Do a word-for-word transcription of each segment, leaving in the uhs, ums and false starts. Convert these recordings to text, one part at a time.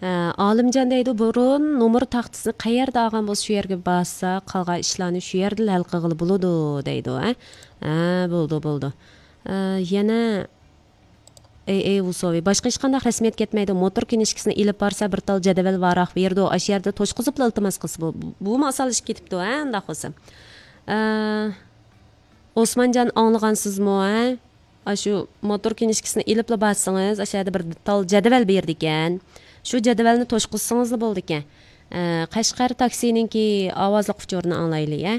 ھە، ئالىمجان دەيدۇ، بۇرۇن نومۇر تاختىسىنى قەيەردە ئالغان بولسا، شۇ يەرگە بارسا، قالغان ئىشلارنى شۇ يەردىلا ھەل قىلغىلى بولىدۇ، دەيدۇ، ھە؟ ھە، بولىدۇ، بولىدۇ. ئە، يەنە، ئەي، ئەي، ۋۇسوۋى، باشقا ھېچقانداق رەسمىيەت كەتمەيدۇ. موتور كىنىشكىسىنى ئېلىپ بارسا، بىر تال جەدۋەل ۋاراق بېرىدۇ. ئاشۇ يەردە توشقۇزۇپلا ئىلتىماس قىلسا بۇ، بۇ، بۇمۇ ئاسانلىشىپ كېتىپتۇ، ھە، ئۇنداق بولسا. ئە، ئوسمانجان، ئاڭلىغانسىزمۇ، ھە؟ ئاشۇ موتور كىنىشكىسىنى ئېلىپلا بارسىڭىز، ئاشۇ يەردە بىر تال جەدۋەل بېرىدىكەن. شۇ جەدۋەلنى توشقۇزسىڭىزلا بولىدىكەن. ئە، قەشقەر تاكسىنىڭكى ئاۋازلىق ئۇچۇرىنى ئاڭلايلى، ھە؟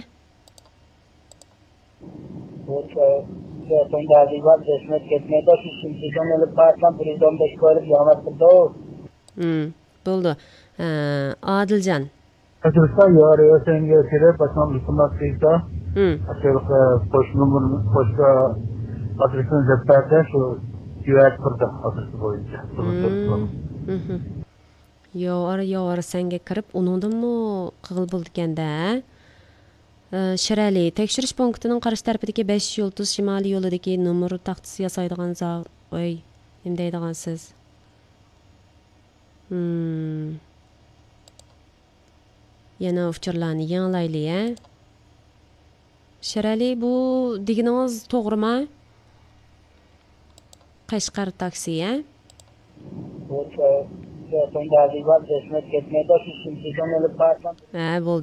بۇ چوڭ دادىغا زەھمەت كەتمەيدۇ، شۇ سىمسىزدىن ئېلىپ بارسام، بىر يۈز ئون بەش كويلۇق ياڭراتتۇرىدۇ. ھىم، بولىدۇ. ئە، ئادىلجان. ئەترىتتا يارى ئۆسەنگە كىرىپ، باشقا ئىلتىماس قىلسا، ھىم. ئاشۇ قوش نومۇر، قوشقا ئادرېسىنى دەپ بەردى، شۇ جۈۋەت بىردە ئادرېسى بويىچە. ھىم. ھىم. ياۋار، ياۋار سەنگە كىرىپ، ئۇنىڭدىنمۇ قىغىل بولىدىكەن-دە. ئە، شىرئەلى، تەكشۈرۈش پونكىتىنىڭ قارشى تەرىپىدىكى بەش يۇلتۇز شىمالىي يولىدىكى نومۇر تاختىسى ياسايدىغان زاۋۇت، ئۆي، نېمە دەيدىغانسىز؟ ھىم. يەنە ئۇچۇرلارنى يېڭىلايلى، ھە؟ شىرئەلى، بۇ دېگىنىڭىز توغرىما؟ قەشقەر تاكسى، ھە؟ بۇ چوڭ، چوڭ دادىغا زەھمەت كەتمەيدۇ، شۇ سىمسىزدىن ئېلىپ بارسام. ھە، بولدى.